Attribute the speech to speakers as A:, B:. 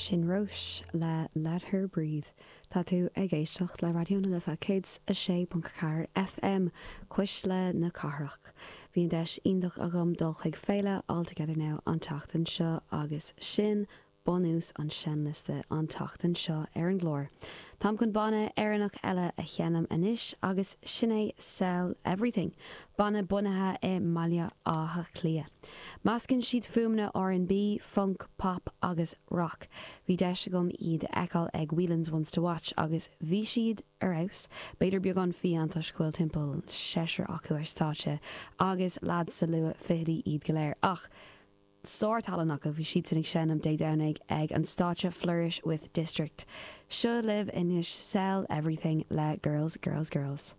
A: Sin Róis le Let Her Breathe. Tá tú ag éisteacht le Raidió na Life 106.4 FM, Cuisle na Cathrach. Bhí an deis iontach agam dul chuig féile All Together Now an tseachtain seo agus sin bunús an seinnliosta an tseachtain seo ar an gclár. Táim chun banna Éireannach eile a sheinm anois agus sin é Sell Everything, banna bunaithe i mBaile Átha Cliath. Meascann siad fuaimeanna R&B, func, pop agus rock. Bhí deis agam iad a fheiceáil ag Whelan's Ones to Watch agus bhí siad ar fheabhas, b'fhéidir beagán fiáin toisc go bhfuil timpeall seisear acu ar stáitse agus leaids sa luath fichidí iad go léir ach sár-tallann acu, bhí siadsan ag seinm Dé Domhnaigh ag an stáitse Flourish with District. Seo libh anois Sell Everything le Girls Girls Girls.